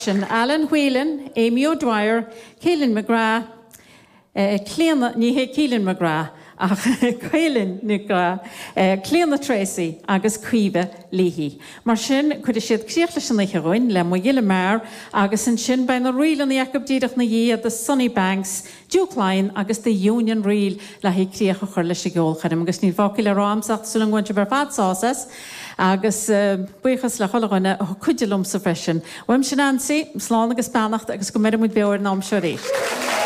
Sin Alan Whelan, Amy O'Dwyer, Keelin McGrath, Clíona, ní hé Keelin McGrath ach Caoilinn McGrath, Clíona Tracey agus Caoimhe Leahy. Mar sin, cuirfidh siad críoch leis an oíche dhúinn le Mo Ghile Mear agus ansin beidh na ríleanna acu díreach 'na dhiaidh, The Sunny Banks, Duke Laighean agus The Union Reel le haghaidh críoch a chur leis an gceolchoirm. Agus níl fágtha le rá a'msa ach tá súil agam go mbainfidh sibh ar fad sásamh as agus buíochas le chuile dhuine a chuidigh liomsa freisin. Uaimse Nancy, slán agus beannacht agus go mbeire muid beo ar an am seo arís.